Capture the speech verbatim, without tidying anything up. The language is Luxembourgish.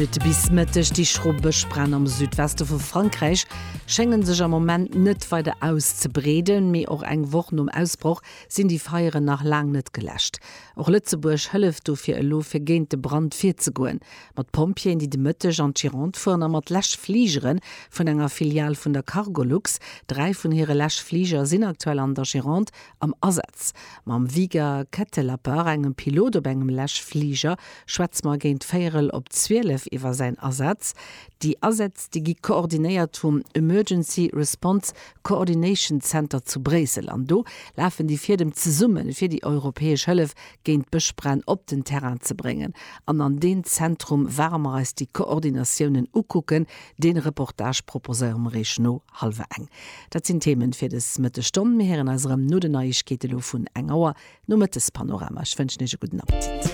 Minutte bis Mëtteg. Déi schro Bëschbränn am Südweste vu Frankräich schéngen sech am Moment net weider auszebreeden, mee och eng Woch nom Ausbroch sinn déi Feieren nach laang net geläscht. Och Lëtzebuerg hëlleft dofir elo fir géint de Brand virzegoen. Mat Pompjeeën, déi de Mëtteg an d'Gironde fueren a mat Läschfligere vun enger Filial vun der Cargolux. Dräi vun hire Läschfliger sinn aktuell an der Gironde am Asaz. Mam Wieger Ketellapper, engem Pilot op engem Läschfliger, schwätze mer géint véierel op zwielef iwwer säin Asaz. Déi Asätz, déi gi koordinéiert vum Emergency Response Coordination Center zu Bréissel. An do lafen déi Fiedem zesummen, fir déi europäesch Hëllef géint d'Bëschbränn op den Terrain ze bréngen. An an deem Zentrum ware mer eis déi Koordinatiounen ukucken. Dee Reportage proposéiere mer iech no hallwer eng. Dat sinn Themen fir des Mëttesstonn. Mir héieren eis erëm no den Neiegkeete lo vun eng Auer nom Mëttespanorama. Ech wënschen iech e gudden Appetit.